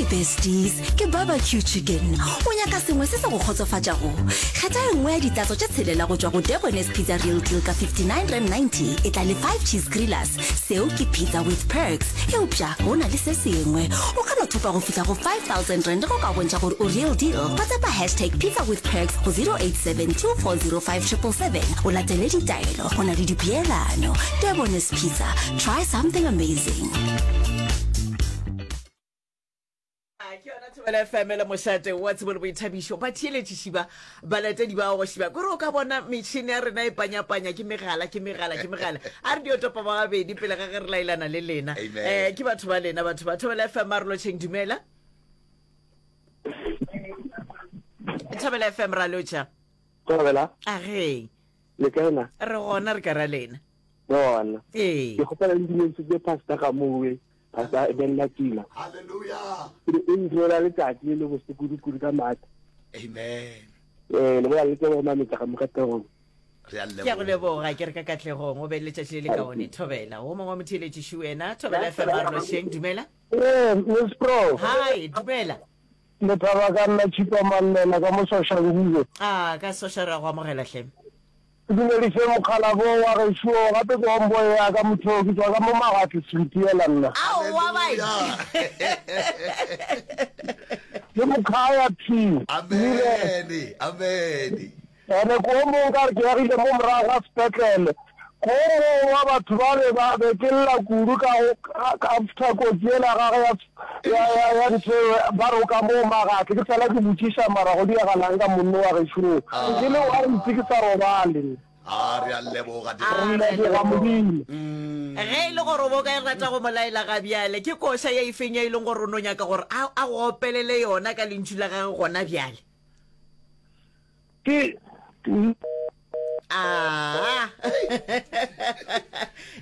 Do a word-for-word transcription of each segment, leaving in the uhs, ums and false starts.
Besties, ke barbecue chicken. O nyaka sengwe se se go kgotsofatšago? Kgetha e nngwe ya ditatso tše tshelela go tšwa go Debonairs Pizza Real Deal ka fifty-nine rand ninety. E tla le five cheese grillers. Seo ke pizza with perks. Eupša go na le se sengwe. O ka no thopa go fihla go five thousand rand ge o ka bontšha gore o real deal. WhatsAppa hashtag pizza with perks go zero eight seven two four zero five triple seven o latele ditaelo. Go na le dipeelano. Debonairs Pizza. Try something amazing. Ke yona Thobela F M le mošate wa tsebo le boithabišo. Batheeletši ba, balatedi ba go šiba, kore o ka bona metšhene ya rena e panyapanya ke megala, ke megala, ke megala. A re dio topa ba babedi pele ga ge re laelana le lena. Amen. Eh, ke batho ba lena, batho ba Thobela F M, a re lotšheng, dumela. Thobela F M, ra lotšha. Thobela. A ge. Le kae na? Re gona, re ka ra lena. Gona. Ee. Ke kgopela le dumedisitse Pastor Gamowe, Pastor Ben Matila. Hallelujah. Ke o ndirela letšatši le le bose kudu-kudu ka maatla. Amen. Eh, le bola le tsebo mametla ka mokategong. Re a Ke a go leboga. leboga, ke re ka katlegong, o be le letšatši le le kaone. Thobela. O mongwe wa motheeletši wena, Thobela F M, a re lošeng, dumela. Eh, Miss Pro. Hi, dumela. Le thaba ka nna Chipa Mallela ka mo Soshanguve. Ah, ka Sosha re a go amogela hle. Ke dumedise mokgalabo wa gešo, gape ke homeboy ya ka motho, ke tšwa ka mo Magatli Sweetiela nna. Aowa bae. Ke mokhaya P. Amen. Amen. Ene ko mong ka re ke agile mo morago ga sepetlele. Ko mong wa batho ba be ba be ke lla kudu ka go after kotsi ela gage ya ya ya ya ntho ba re o ka mo Magatli ke fela ke botšiša mara go diagalang ka monno wa gešo ke le wa itse ke sa robale. A re a leboga. Re leboga Modimo. Ge e le gore o bo ka rata go mo laela ga bjale, ke koša ye efeng ye e leng gore o no nyaka gore a a go opelele yona ka lentšu la gagwe gona bjale? Ke Aa.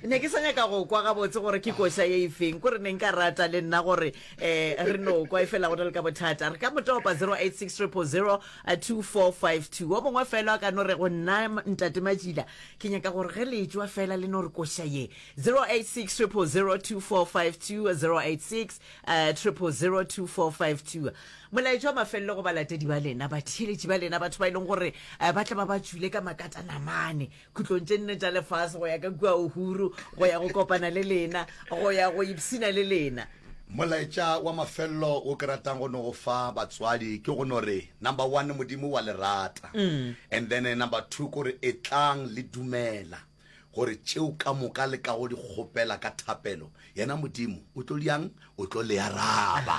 Ne ke sa nyaka go kwa gabotse gore ke koša ye efeng, kore ne nka rata le nna gore um re no kwa, efela go na le ka bothata. Re ka mo topa zero eight six triple zero two four five two. O mongwe fela a ka no re go nna ntate Matšila, ke nyaka gore ge le tšwa fela le no re koša ye. zero eight six triple zero two four five two, zero eight six triple zero two four five two. Molaetša wa mafelelo go balatedi ba lena, batheeletši ba lena, batho ba e leng gore ba tla ba ba tšwile ka makatanamane khutlong tše nne tša lefase go ya ka kua Uhuru, go ya go kopana le lena, go ya go ipshina le lena. Molaetša wa mafelelo wo ke ratang go no go fa batswadi ke go no re, number one, Modimo wa le rata, and then number two, kore etlang le dumela gore tšeo ka moka le kago di kgopela ka thapelo, yena Modimo o tlo diang? O tlo le araba.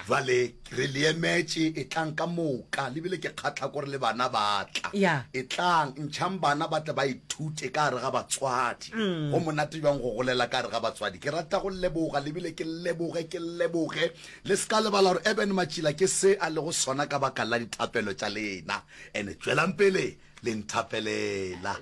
Jwale re le emetše, etlang ka moka. Le bile ke kgatlha kore le bana ba tla. Etlang, ntšhang bana ba tle ba ithute ka gare ga batswadi. Go monate bjang go golela ka gare ga batswadi. Ke rata go leboga, le bile ke leboge, ke leboge. Le se ka lebala gore Eben Matšila ke se a lego sona ka baka la dithapelo tša lena. And tšwelang pele le nthapelela.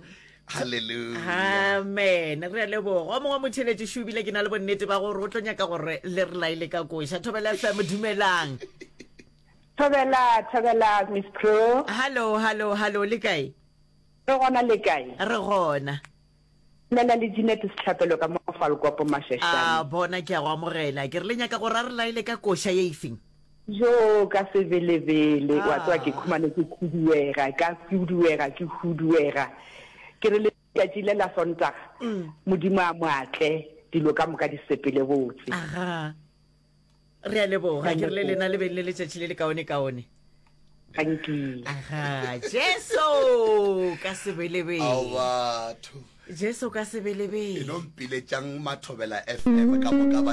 Hallelujah. Amen. Re a leboga. O mongwe motheletši šo ebile ke na le bonnete ba gore o tlo nyaka gore le re laele ka koša. Thobela F M, dumelang. Thobela, thobela Miss Pro. Hallo, hallo, hallo, le kae? Re gona, le kae? Re gona. Bolela le Jeanette Sehlapelo ka mo Falkopo Mashashane. A bona ke a go amogela. Ke re le nyaka gore a re laele ka koša ye efeng? Jo, ka sebelebele, wa tseba ke khumane ke khuduega, ka khuduega, ke huduega. Ke re letšatši le la Sontaga, Modimo a mo atle, dilo ka moka di sepele botse. Aga. Re a leboga, ke re le lena le beng le letšatši le le kaone-kaone. Thank you. Aga, Jesu ka sebelebele. Ao batho. Jesu ka sebelebele. E no mpiletšang Mathobela F M ka moka ba.